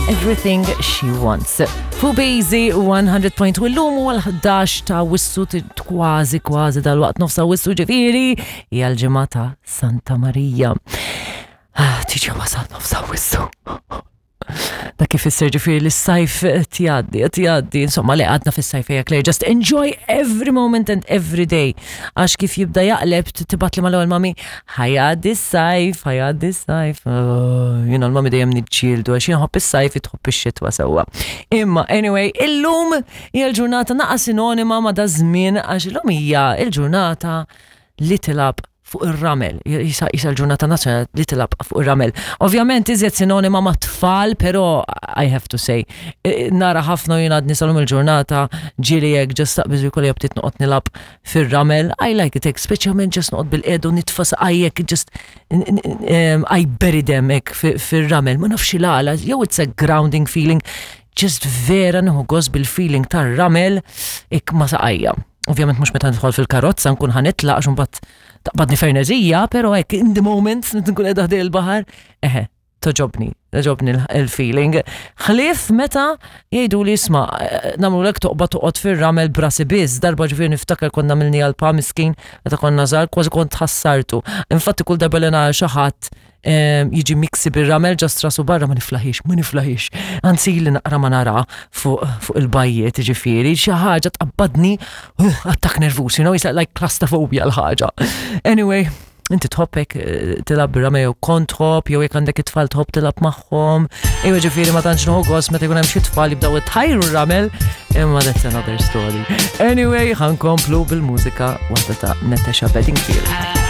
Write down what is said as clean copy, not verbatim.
Everything She Wants. Fu Bazy 100.2 l-lum u l-11 ta' wissu kważi kważi dal-waqt nofsa wissu ġifiri hija l-ġimgħa ta' Santa Marija. Ah, tiġi wasal nofsa wissu. Dak ifisser ġifieri li s-sajf qed jgħaddi, qed jgħaddi, insomma li għadna fis-sajf hija Claire, just enjoy every moment and every day. Għax kif jibda jaqleb tibgħat li mal-ewwel mami, ħajgħaddi s-sajf, ħajgħaddi s-sajf. Oh, jiena l-mami dejjem niġġieldu għax jien ħobb is-sajf tħobb ix-xitwa sewwa. Imma anyway, illum hija l-ġurnata naqa' sinonima ma' da żmien għax illum hija l-ġurnata li tilgħab fuq ir-ramel, jisa l-ġurnata nazzjonali li tilgħab fuq ir-ramel. Ovvjament iżjed sinonima ma' tfal, però I have to say, e, nara ħafna jien għadni salum il-ġurnata ġieli hekk ġast taqbiż jkolli btiet noqgħod nilgħab fir-ramel, I like it hekk, speċjalment ġast noqgħod bil-qedu nitfa' saqajjek just I bury them hekk fir-ramel, ma nafx il-għala, jew it's a grounding feeling, just vera nieħu gost bil-feeling tar-ramel hekk ma' saqajja. Ovvjament mhux meta nidħol fil-karozza nkun ħanitlaq għax imbagħad taqbadni ferneżija, però hekk in the moment nkun qiegħda ħdej il-baħar, eħe, toġobni, toġobni l-feeling. Ħlief meta jgħidu li isma' nagħmlulek toqba toqgħod fir-ramel brasi biss, darba ġifieri niftakar konna milni għal pa miskin meta konna żgħar kważi kont ħassartu. Infatti kull darba li nara xi ħadd jiġi miksi bir-ramel ġast rasu barra ma niflaħix, ma niflaħix. Anzi li naqra ma nara fuq fu il-bajjiet ġifieri, xi ħaġa tqabbadni uh, attak nervus, you know, it's like claustrophobia l-ħaġa. Anyway, inti tħobbek eh, tilab bir-ramel jew kont tħobb, jew jekk għandek it-tfal tħobb tilab magħhom. Ejwa ġifieri ma tantx nieħu gost meta jkun hemm xi tfal jibdew itħajru r-ramel, imma that's another story. Anyway, ħankomplu bil-mużika waħda ta' Natasha Bedingfield.